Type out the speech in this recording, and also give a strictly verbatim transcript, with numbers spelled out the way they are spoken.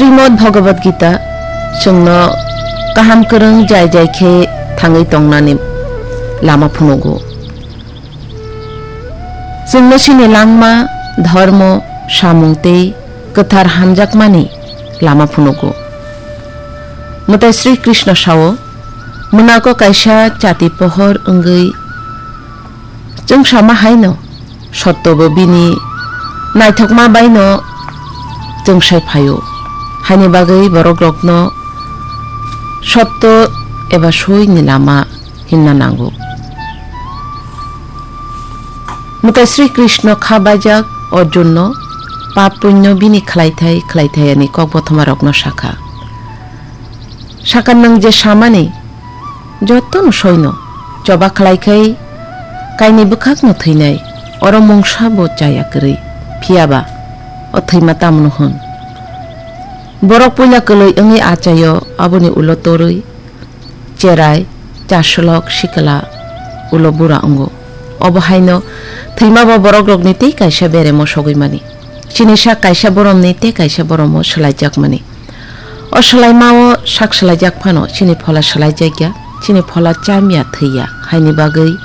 Srimad Bhagavad Gita chwngno kaham kwrwng jai jai khe thangwi tongnani lama phunugo. Chwngno chini langma, dhormo, samung tei kwthar hamjakmani lama phunugo. Mwtai Sri Krishna sao, "Mwnago kaisa chati pohor wngwi chwngsama haino sottobo bini naithokma baino chwngsai phaio, haini bagwi borokrokno sotto eba soini lama himna nango." Mwtai Sri Krishna kha baijak Arjunno pap punyo bini khlaithai khlaithayani kok bothomarokno sakha. Sakha, nwng je samani jotono soino, choba khlai khai kaini bwkhakno thwinai, oro mungsa bo chaya kwrwi, phiyaba o thwima tamno hwn? Borok puila kwlwi wngwi achaio, aboni ulo torwi cherai, chaslok, sikla, ulo bura wngo. Obo haino thwima bo borokrokni tei kaisa beremo sogwi mani. Chini sak kaisa boromni tei kaisa boromo swlaijakmani. O swlaimao sak swlaijak phano chini phola swlaijakya, chini phola chamya thwiya, haini bagwi